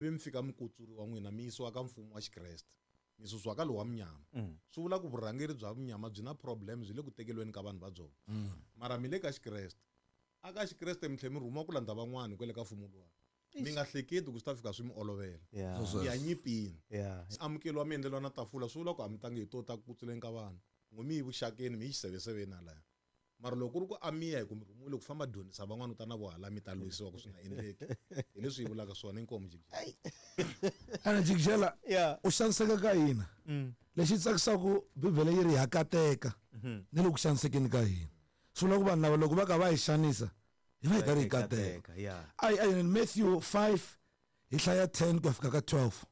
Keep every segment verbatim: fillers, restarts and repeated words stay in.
Vi mi fika mi kutsuriwa n'wina mi yisiwa ka mfumo wa Xikreste mi susiwa ka lowa munyama. Swi vula ku vurhangeri bya munyama byi na problem, byi le ku tekeliweni ka vanhu va byona. Mara mi le ka Xikreste, a ka Xikreste mi tlhela mi rhumiwa ku landza van'wani kwele ka mfumo luwa. Mi nga hleketi ku swi ta fika swi mi olovela. Yeah. Ya nyipini. Yeah. Amukeliwa mi endleriwa na tafula, swi vula ku a mi tangi hi to ta ku kutsuleni ka vanhu. N'we mi yi vuxakeni, mi yi xiseveseveni halaya. Mara loko ku ri ku a mi ya hi ku mi rhumiwile ku famba dyondzisa van'wana u ta na vo hala mi ta lwisiwa ku swi nga endleki. Hi leswi hi vulaka swona, inkomu Jikijela. Ana Jikijela, Yeah. u xaniseka ka hina. Lexi tsakisaka Bibele yi ri ha kateka ni le ku xanisekeni ka hina. Swi vula ku vanhu lava loko va ka va hi xanisa, hi va hi karhi hi kateka. Yeah. Ai, ai, Matthew five hi hlaya ten ku ya fika ka twelve.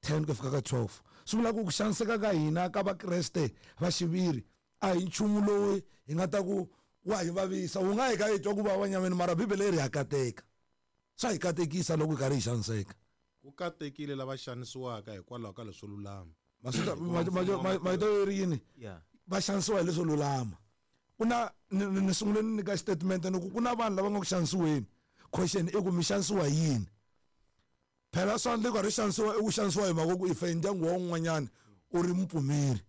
ten ku ya fika ka twelve. Swi vula ku ku xaniseka ka hina ka Vakreste va xiviri a hi nchumu lowu hi nga ta ku wa hi vavisa, wu nga hi ka hi twa ku vava nyameni, mara Bibele yi ri ha kateka. Swa hi katekisa loko hi karhi hi xaniseka. Ku katekile lava xanisiwaka hikwalaho ka leswo lulama. Maswita, Hikuva ma-, mfumo ma-, wa ma-, matilo marito yo ri yini? Yeah. Va xanisiwa hi leswo lulama. Ku na, ni, ni, ni sungule ni nyika statement ni ku ku na vanhu lava nga ku xanisiweni. Question i ku mi xanisiwa hi yini? Phela swa endleka ri xanisiwa, i ku xanisiwa hi mhaka ku i fe ndyangu wa un'wanyana u ri mupfumeri.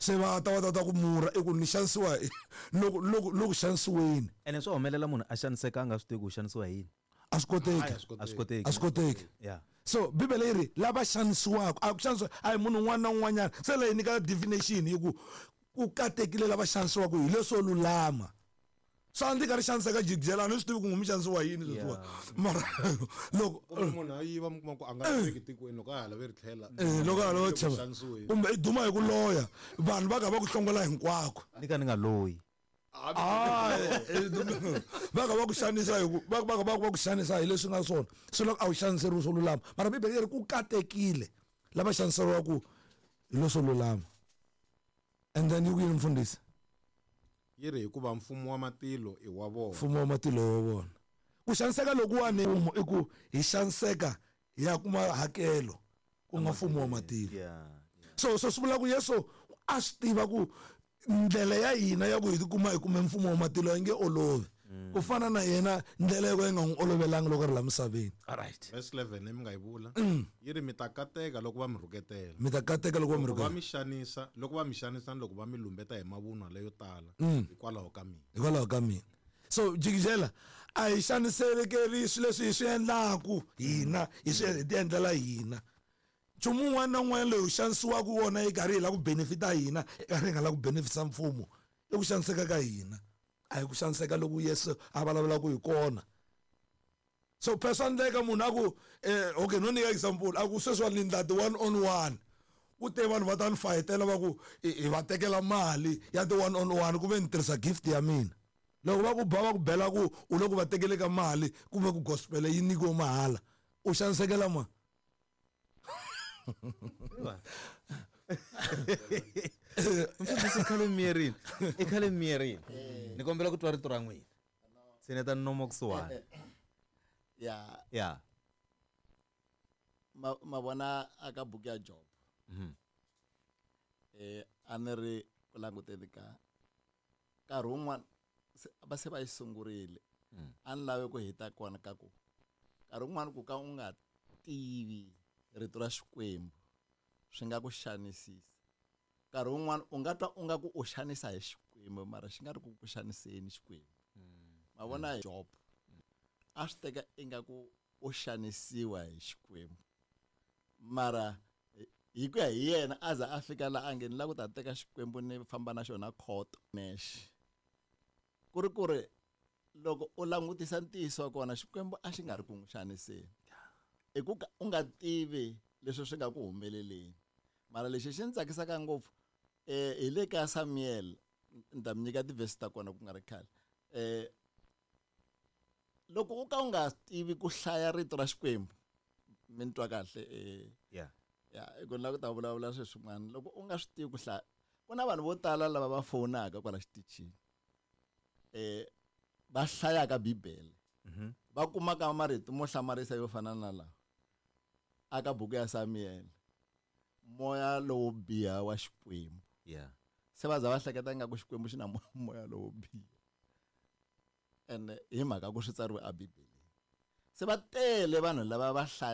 Se va ta va ta ta ku murha i ku ni xanisiwa hi, loko, loko, loko xanisiweni. Ene swa humelela munhu a xaniseka a nga swi tivi ku xanisiwa hi yini. A swi koteki. Hayi, a swi koteki. A swi koteki. A swi koteki. Yeah. So Bibele yi ri lava xanisiwaka, a ku xanisiwa a hi munhu un'wana na un'wanyana. Se leyi nyika definition yi ku ku katekile lava xanisiwaka hi leswo lulama. Swa endleka ri xaniseka Jikijela, a ni swi tivi ku mi xanisiwa yini sweswiwa. Yeah. Mara loko kumbe munhu a yiva mi kuma ku a nga laveki tikweni, loko a ha lave ri tlhela. Eh, loko a ha lava Loko tlhela. xanisiweni. Kumbe i duma hi ku loya, vanhu va ka va ku hlongola hinkwako. Ni ka ni nga loyi. Ah, eh, va ka va ku xanisa hi ku, va, va ka va, va ku xanisa hi leswi nga swona. Swi loko a wu xaniseriwi swo lulama. Mara Bibele yi ri ku katekile lava xaniseriwaka hi leswo lulama. And then yi ku yini mfundhisi? Yi ri hikuva mfumo wa matilo i wa vona. Mfumo wa matilo i wa vona. Ku xaniseka lokuwani i ku hi xaniseka hi ya kuma hakelo ku nga mfumo wa matilo. Yeah, yeah. So, so swi vula ku Yesu a swi tiva ku ndlela ya hina ya ku hi tikuma hi kume mfumo wa matilo yi nge olovi. Mm. Ku fana na yena ndlela yo ka yi nga n'wi olovelanga loko a ri la misaveni. All right. Verse eleven leyi mi nga yi vula. Mm. Yi ri mi ta kateka loko va mi rhuketela. Mi ta kateka loko va mi Loko va rhuketela. mi xanisa, loko va mi xanisa ni loko va mi lumbeta hi mavunwa leyo tala, Mm. hikwalaho ka mina. Hikwalaho ka mina. So Jikijela a hi xaniselekeri swilo leswi hi swi endlaku hina, hi swi hi ti endlela hina. Nchumu wun'wana na wun'wana lowu xanisiwaka wona yi karhi yi lava ku benefita hina, yi karhi yi nga lava ku benefita mfumo, i ku xaniseka ka hina. A hi ku xaniseka loku Yesu a vulavulaka hi kona. So phela swa endleka munhu a ku, eh, okay, no nyika example, a ku sweswiwani ni ndla ti one on one. Ku te vanhu va ta ni fayetela va ku hi, hi va tekela mali ya ti one on one ku ve ni tirhisa gift ya mina. Loko va ku ba va ku bela ku u le ku va tekele ka mali kumbe ku gospel yi nyikiwe mahala, u xanisekela ma? Mfundhisi khale miyerini, i khale miyerini. Ni kombela ku twa rito ra n'wina. Tshineta nomo kusuhani. Ya. Ya. Ma, ma vona aka buku ya Job. Mhm. Eh, a ni ri ku languteni ka nkarhi wun'wana se, va se va yi sungurile. Mm. A ni lave ku heta kona ka ku nkarhi wun'wana ku ka u nga tivi rito ra Xikwembu swi nga ku xanisisa. Nkarhi wun'wana u nga twa u nga ku u xanisa hi Xikwembu, mara xi nga ri ku ku xaniseni Xikwembu. Mm. Ma vona Job a swi teka ingaku u xanisiwa hi Xikwembu, mara hi ku ya hi yena a za a fika la a nge ni lava ku ta teka Xikwembu ni famba na xona khoto nexe. Ku ri ku ri loko u langutisa ntiyiso wa kona, Xikwembu a xi nga ri ku n'wi xaniseni. I ku ka u nga tivi leswi swi nga ku humeleleni. Mara lexi xi ni tsakisaka ngopfu, eh, hi le ka Samuel, ni ta mi nyika ti-verse ta kona ku nga ri khale. Eh, loko u ka u nga tivi ku hlaya rito ra Xikwembu, mi ni twa kahle, eh, Yeah. ya, i ku ni lava ku ta vulavula sweswi swin'wana. Loko u nga swi tivi ku hlaya, ku na vanhu vo tala lava va fowunaka kwala xitichini, eh, va hlayaka Bibele. Mhm. Va kumaka marito mo hlamarisa yo fana na lawa aka buku ya Samuel, moya lowo biha wa Xikwembu. Yeah. Se va za va hleketa ingaku Xikwembu xi na mo-, moya lowo biha. Ene hi mhaka ku swi tsariwe eBibeleni. Se va tele vanhu lava va hlaya.